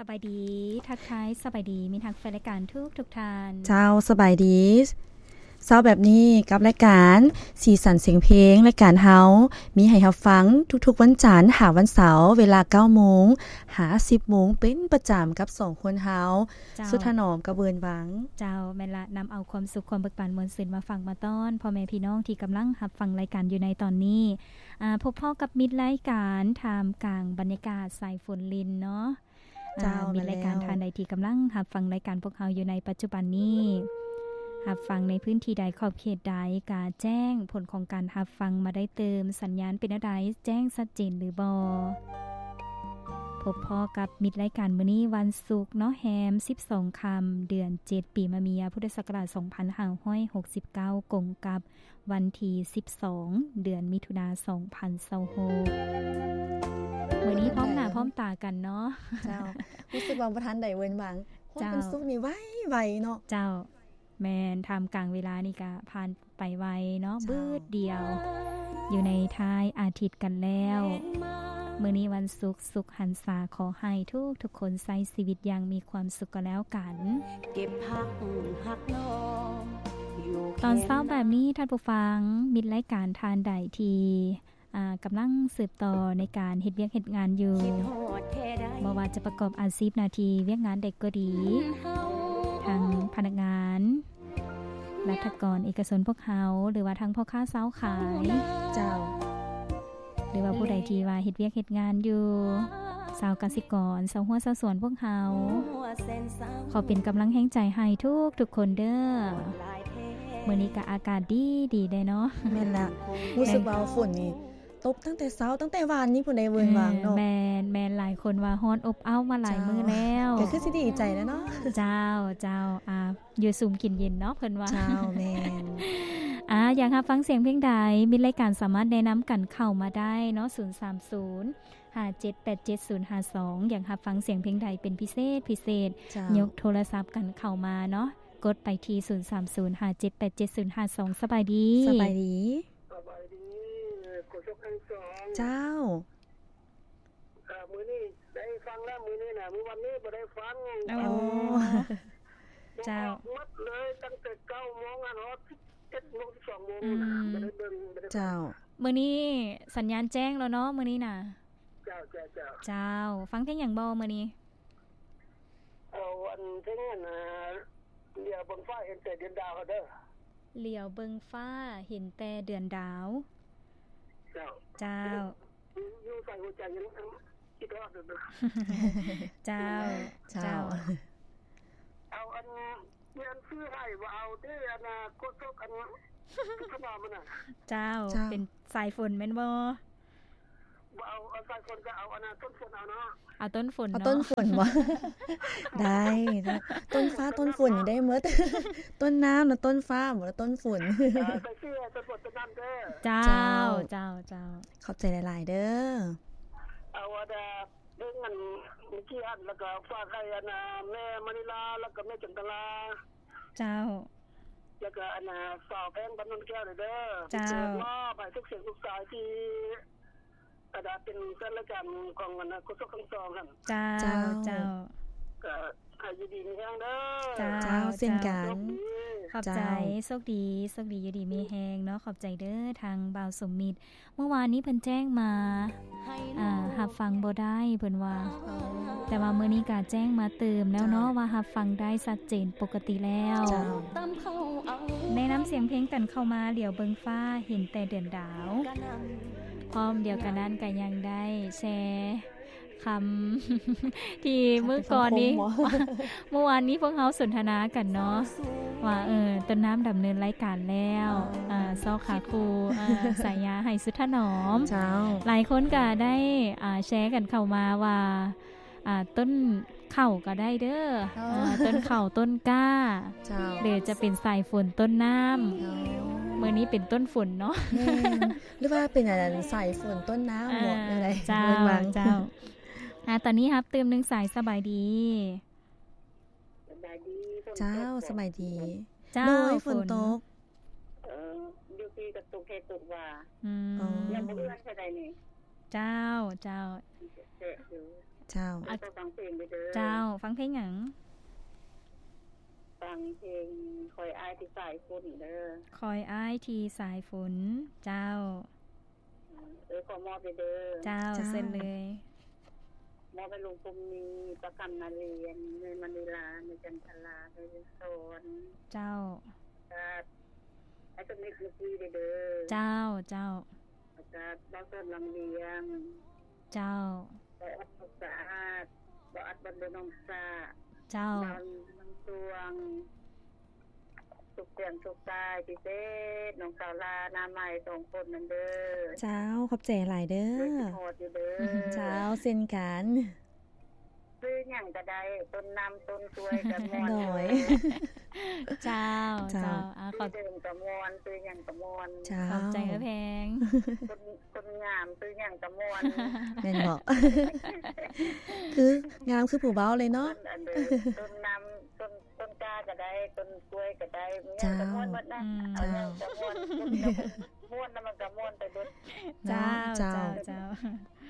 ສະບາຍດີ ທັກທາຍສະບາຍດີມິດຮັກແຟນລາຍການທຸກໆທ່ານ. ເຈົ້າ ສະບາຍດີ. ເຊົ້າແບບນີ້ກັບລາຍການສີສັນສຽງເພງ, ລາຍການເຮົາມີໃຫ້ຮັບຟັງທຸກໆວັນຈັນຫາວັນເສົາ ເວລາເກົ້າໂມງຫາສິບໂມງເປັນປະຈຳກັບສອງຄົນເຮົາ ເຈົ້າ ສຸດຖະໜອມກັບເວີນວັງ. ເຈົ້າ ແມ່ນລະ, ນຳເອົາຄວາມສຸກຄວາມເບີກບານມ່ວນຊື່ນມາຝາກມາຕ້ອນພໍ່ແມ່ພີ່ນ້ອງທີ່ກຳລັງຮັບຟັງລາຍການຢູ່ໃນຕອນນີ້. ອາ ພົບພໍ້ກັບມິດລາຍການທ່າມກາງບັນຍາກາດສາຍຝົນລິນເນາະ. ເຈົ້າ ອາ ມີລາຍການ ແມ່ນແລ້ວ ທ່ານໃດທີ່ກຳລັງຮັບຟັງລາຍການພວກເຮົາຢູ່ໃນປັດຈຸບັນນີ້ ຮັບຟັງໃນພື້ນທີ່ໃດ ຂອບເຂດໃດ ກະແຈ້ງຜົນຂອງການຮັບຟັງມາໄດ້ຕື່ມ. ສັນຍານເປັນແນວໃດ ແຈ້ງຊັດເຈນຫຼືບໍ່? ພົບພໍ້ກັບມິດລາຍການມື້ນີ້ ວັນສຸກເນາະ ແຮມສິບສອງຄ່ຳ ເດືອນເຈັດ ປີມະເມຍ ພຸດທະສັກກະລາດສອງພັນຫ້າຮ້ອຍຫົກສິບເກົ້າ ກົງກັບ ວັນທີສິບສອງ ເດືອນມິຖຸນາ ສອງພັນຊາວຫົກ. ມື້ນີ້ພ້ອມໜ້າພ້ອມຕາກັນເນາະ. ເຈົ້າ ຮູ້ສຶກວ່າບໍ່ທັນໄດ້ເວີນວັງ. ຮອດ ເຈົ້າ ວັນສຸກນີ້ໄວໆເນາະ. ເຈົ້າ ແມ່ນ, ທ່າມກາງເວລານີ້ກະຜ່ານໄປໄວເນາະ. ເຈົ້າ ບຶດດຽວ ຢູ່ໃນທ້າຍອາທິດກັນແລ້ວ. ມື້ນີ້ວັນສຸກ ສຸກຫັນສາ ຂໍໃຫ້ທຸກໆຄົນໃຊ້ຊີວິດຢ່າງມີຄວາມສຸກກໍແລ້ວກັນ. ເກັບຮັກຮັກນ້ອງຢູ່ ຕອນເຊົ້າແບບນີ້ ທ່ານຜູ້ຟັງ ມິດລາຍການທ່ານໃດທີ່ ອາ ກຳລັງສືບຕໍ່ໃນການເຮັດວຽກເຮັດງານຢູ່ ບໍ່ວ່າຈະປະກອບອາຊີບໜ້າທີ່ວຽກງານໃດກໍດີ ທັງພະນັກງານ ລັດຖະກອນເອກະຊົນພວກເຮົາ ຫຼືວ່າທັງພໍ່ຄ້າຊາວຂາຍ ເຈົ້າ ຫຼືວ່າຜູ້ໃດທີ່ວ່າເຮັດວຽກເຮັດງານຢູ່ ຊາວກະສິກອນ ຊາວຮົ້ວຊາວສວນພວກເຮົາ ຂໍເປັນກຳລັງແຮງໃຈໃຫ້ທຸກໆຄົນເດີ້. ມື້ນີ້ກະອາກາດດີໆເດ້ເນາະ. ແມ່ນລະ ຮູ້ສຶກວ່າຝົນນີ້ຕົກຕັ້ງແຕ່ເຊົ້າ ຕັ້ງແຕ່ວານນີ້ພຸ້ນໃດ ເວີນວາງເນາະ. ແມ່ນໆ ຫຼາຍຄົນວ່າຮ້ອນອົບອ້າວມາຫຼາຍມື້ແລ້ວ ກະຄືຊິດີໃຈແລ້ວເນາະ. ເຈົ້າ ເຈົ້າ ອາ ຢູ່ສຸມກິນເຢັນເນາະ ເພິ່ນວ່າ. ເຈົ້າ ແມ່ນ. ອາ ຢາກຮັບຟັງສຽງເພງໃດ ມິດລາຍການສາມາດແນະນຳກັນເຂົ້າມາໄດ້ເນາະ ສູນສາມສູນ ຫ້າເຈັດແປດເຈັດສູນຫ້າສອງ. ຢາກຮັບຟັງສຽງເພງໃດເປັນພິເສດ ພິເສດ ເຈົ້າ ຍົກໂທລະສັບກັນເຂົ້າມາເນາະ ກົດໄປທີ່ ສູນສາມສູນ ຫ້າເຈັດແປດເຈັດສູນຫ້າສອງ. ສະບາຍດີ. ສະບາຍດີ. ສະບາຍດີ ໂຄສົກທັງສອງ. ເຈົ້າ. ເອີ ມື້ນີ້ໄດ້ຟັງແລ້ວ ມື້ນີ້ນະ ມື້ວັນນີ້ບໍ່ໄດ້ຟັງ. ໂອ້ ເຈົ້າ ໝົດເລີຍ ຕັ້ງແຕ່ເກົ້າໂມງ ຮອດສິບເອັດໂມງ ສິບສອງໂມງ ອືມ ບໍ່ໄດ້ເບິ່ງ ບໍ່ໄດ້ຟັງ. ເຈົ້າ ມື້ນີ້ສັນຍານແຈ້ງແລ້ວເນາະ ມື້ນີ້ນະ. ເຈົ້າ ເຈົ້າ ເຈົ້າ. ເຈົ້າ ຟັງເພງຫຍັງບໍ່ມື້ນີ້? ເອົາອັນເພງອັນນະ ຫຼຽວເບິ່ງຟ້າເຫັນແຕ່ເດືອນດາວເດີ. ຫຼຽວເບິ່ງຟ້າເຫັນແຕ່ເດືອນດາວ. ເຈົ້າ ເຈົ້າ. ຢູ່ໃສຫົວໃຈຍັງຄິດຮອດຢູ່. ເຈົ້າ ເຈົ້າ ເຈົ້າ. ເອົາອັນ ມີອັນຊື້ໃຫ້ບໍ່ເອົາເດ້ ອະນາຄົດສົກອັນ ຂະໜອມມັນນະ. ເຈົ້າ ເຈົ້າ ເປັນສາຍຝົນແມ່ນບໍ່? ບໍ່ເອົາ ເອົາສາຍຝົນກໍເອົາອັນນັ້ນ ຕົ້ນຝົນເອົາເນາະ. ເອົາຕົ້ນຝົນ ເອົາຕົ້ນຝົນບໍ່? ໄດ້ ຕົ້ນຟ້າຕົ້ນຝົນນີ້ໄດ້ໝົດ ຕົ້ນນ້ຳນະ ຕົ້ນຟ້າບໍ່ລະ ຕົ້ນຝົນ. ເອີ ໃສ່ຊື່ໃຫ້ຕົ້ນຝົນຕົ້ນນ້ຳເດີ. ເຈົ້າ ເຈົ້າ ເຈົ້າ ເຈົ້າ. ຂອບໃຈຫຼາຍໆເດີ. ເອົາອັນເພງອັນເມື່ອກີ້ຫັ້ນ ແລ້ວກໍຝາກໃຫ້ອັນນາແມ່ມະນີລາ ແລ້ວກໍແມ່ຈັນຕະລາ. ເຈົ້າ. ແລ້ວກໍອັນນາສາວແພງ ບ້ານໂນນແກ້ວເດີ. ເຈົ້າ. ມອບໃຫ້ທຸກສຽງທຸກສາຍທີ່ ກະໄດ້ເປັນແຟນລາຍການຂອງອັນນາໂຄສົກທັງສອງຫັ້ນ. ເຈົ້າ ເຈົ້າ ເຈົ້າ. ກະໃຫ້ຢູ່ດີມີແຮງເດີ. ເຈົ້າ ເຈົ້າ ເຊັ່ນກັນ. ໂຊກດີ. ຂອບໃຈ. ເຈົ້າ ໂຊກດີ ໂຊກດີ ຢູ່ດີມີແຮງເນາະ. ຂອບໃຈເດີ ທາງບ່າວສົມມິດ. ເມື່ອວານນີ້ເພິ່ນແຈ້ງມາ ອ່າ ຮັບຟັງບໍ່ໄດ້ເພິ່ນວ່າ ແຕ່ວ່າມື້ນີ້ກະແຈ້ງມາຕື່ມແລ້ວເນາະ ເຈົ້າ ວ່າຮັບຟັງໄດ້ຊັດເຈນປົກກະຕິແລ້ວ. ເຈົ້າ. ແນະນຳສຽງເພງກັນເຂົ້າມາ ຫຼຽວເບິ່ງຟ້າເຫັນແຕ່ເດືອນດາວ. ພ້ອມດຽວກັນນັ້ນກະຍັງໄດ້ແຊຄຳທີ່ມື້ກ່ອນນີ້ ເມື່ອວານນີ້ພວກເຮົາສົນທະນາກັນເນາະ ວ່າ ເອີ ຕົ້ນນ້ຳດຳເນີນລາຍການແລ້ວ ເອີ ຊອກຫາຄູ່ ເອີ ສາຍາໃຫ້ສຸດຖະໜອມ. ເຈົ້າ. ຫຼາຍຄົນກະໄດ້ ອ່າ ແຊກັນເຂົ້າມາວ່າ ອ່າ ຕົ້ນເຂົ້າກໍໄດ້ເດີ ເອີ ເອີ ຕົ້ນເຂົ້າ ຕົ້ນກ້າ. ເຈົ້າ. ຫຼືຈະເປັນສາຍຝົນ ຕົ້ນນ້ຳ. ເອີ ມື້ນີ້ເປັນຕົ້ນຝົນເນາະ. ແມ່ນ. ຫຼືວ່າເປັນອັນສາຍຝົນ ຕົ້ນນ້ຳ ເອີ ເນາະ ແນວໃດ? ເຈົ້າ ເຈົ້າ. ອ່າ ຕອນນີ້ຮັບຕື່ມໜຶ່ງສາຍ. ສະບາຍດີ. ສະບາຍດີ. ເຈົ້າ ສະບາຍດີ. ເຈົ້າ. ໂດຍ ຝົນຕົກ. ເອີ ຢູ່ພີກະຕົກແທ້ຕົກວ່າ. ອືມ. ອໍ. ຍັງບໍ່ເຮືອນເທົ່າໃດນີ້. ເຈົ້າ ເຈົ້າ. ແທ້ຢູ່. ເຈົ້າ ແລ້ວກໍຟັງເພງເດີ. ເຈົ້າ ຟັງເພງຫຍັງ? ຟັງເພງ ຄອຍອ້າຍທີ່ສາຍຝົນເດີ. ຄອຍອ້າຍທີ່ສາຍຝົນ. ເຈົ້າ ເອີ ຂໍມອບເດີ. ເຈົ້າ ເຈົ້າ ເຊີນເລີຍ. ມອບໃຫ້ລຸງພົມມີ ປ້າຄຳນາລຽນ ແມ່ມະນີລາ ແມ່ຈັນທະລາ ແມ່ບຸນສອນ. ເຈົ້າ ແລ້ວກໍອ້າຍສະມິດເມື່ອກີ້ເດີ. ເຈົ້າ ເຈົ້າ ແລ້ວກໍບ່າວສອນວັງວຽງ. ເຈົ້າ ບ່າວອັດສຸກສະອາດ ບ່າວອັດບ້ານໂດນໜອງສະ. ເຈົ້າ ບ່າວນາງສວງ ສຸກສຽງສຸກສາຍ ພິເສດນ້ອງສາວລາ ໜ້າໃໝ່ສອງຄົນນັ້ນເດີ. ເຈົ້າ ຂອບໃຈຫຼາຍເດີ. ຄິດຮອດຢູ່ເດີ. ເຈົ້າ ເຊັ່ນກັນ. ຊື່ຫຍັງກໍໄດ້ ຕົ້ນນ້ຳຕົ້ນກ້ວຍກໍມ່ວນ. ໂດຍ ເຈົ້າ ເຈົ້າ ເຈົ້າ ອາ ຂອບ ຊື່ເດີມກໍມ່ວນ ຊື່ຫຍັງກໍມ່ວນ. ເຈົ້າ ຂອບໃຈເອື້ອຍແພງ. ຄົນ ຄົນງາມຊື່ຫຍັງກໍມ່ວນ. ແມ່ນບໍ່? ຄືງາມຄືຜູ້ເວົ້າເລີຍເນາະ. ຕົ້ນ ອັນເດີ ຕົ້ນນ້ຳ ຕົ້ນ ຕົ້ນກ້າກໍໄດ້ ຕົ້ນກ້ວຍກໍໄດ້ ເຈົ້າ ຫຍັງກໍມ່ວນໝົດນະ. ອືມ ເອົາຫຍັງກໍມ່ວນ. ເຈົ້າ ມ່ວນແລ້ວມັນກໍມ່ວນໄປເບິດ. ເຈົ້າ ເຈົ້າ ເຈົ້າ ເຈົ້າ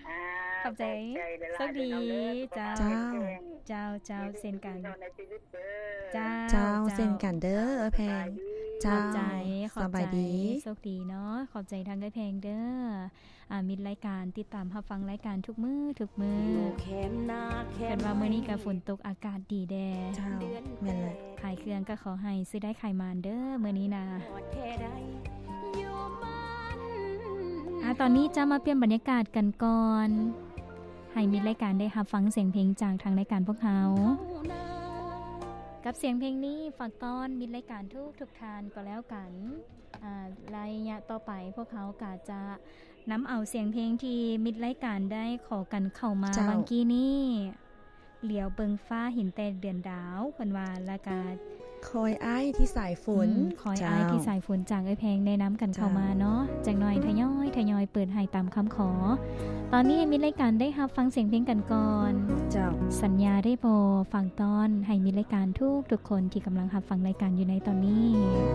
ອາ ຂອບໃຈ ຂອບໃຈຫຼາຍໆ ໂຊກດີເດີ. ເຈົ້າ ເຈົ້າ ເຈົ້າ ເຊັ່ນກັນ. ເຈົ້າ ເຈົ້າ ເຊັ່ນກັນເດີ ເອື້ອຍແພງ. ເຈົ້າ ຂອບໃຈ ຂອບໃຈ ສະບາຍດີ ໂຊກດີເນາະ. ຂອບໃຈທາງເອື້ອຍແພງເດີ. ອາ ມິດລາຍການ ຕິດຕາມຮັບຟັງລາຍການທຸກມື້ ທຸກມື້. ເພິ່ນວ່າມື້ນີ້ກໍຝົນຕົກ ອາກາດດີແດ່. ເຈົ້າ ແມ່ນແຫຼະ. ຂາຍເຄື່ອງກໍຂໍໃຫ້ຊື້ໄດ້ຂາຍໝານເດີມື້ນີ້ນະ. ອາ ຕອນນີ້ຈະມາປ່ຽນບັນຍາກາດກັນກ່ອນ ໃຫ້ມິດລາຍການໄດ້ຮັບຟັງສຽງເພງຈາກທາງລາຍການພວກເຮົາ ກັບສຽງເພງນີ້ຝາກຕ້ອນມິດລາຍການທຸກໆທ່ານກໍແລ້ວກັນ. ອາ ໄລຍະຕໍ່ໄປພວກເຮົາກໍຈະ ນຳເອົາສຽງເພງທີ່ມິດລາຍການໄດ້ຂໍກັນເຂົ້າມາ ເຈົ້າ ຫວ່າງກີ້ນີ້ ຫຼຽວເບິ່ງຟ້າເຫັນແຕ່ເດືອນດາວ ເພິ່ນວ່າ ແລ້ວກະ ຄອຍອ້າຍທີ່ສາຍຝົນ. ອືມ ຄອຍອ້າຍ ເຈົ້າ ທີ່ສາຍຝົນ ຈາກເອື້ອຍແພງແນະນຳກັນເຂົ້າມາເນາະ. ເຈົ້າ ຈັກໜ່ອຍທະຍອຍ ທະຍອຍເປີດໃຫ້ຕາມຄຳຂໍ. ຕອນນີ້ໃຫ້ມິດລາຍການໄດ້ຮັບຟັງສຽງເພງກັນກ່ອນ. ເຈົ້າ ສັນຍາໄດ້ບໍ່ ຝາກຕ້ອນໃຫ້ມິດລາຍການທຸກໆຄົນທີ່ກຳລັງຮັບຟັງລາຍການຢູ່ໃນຕອນນີ້.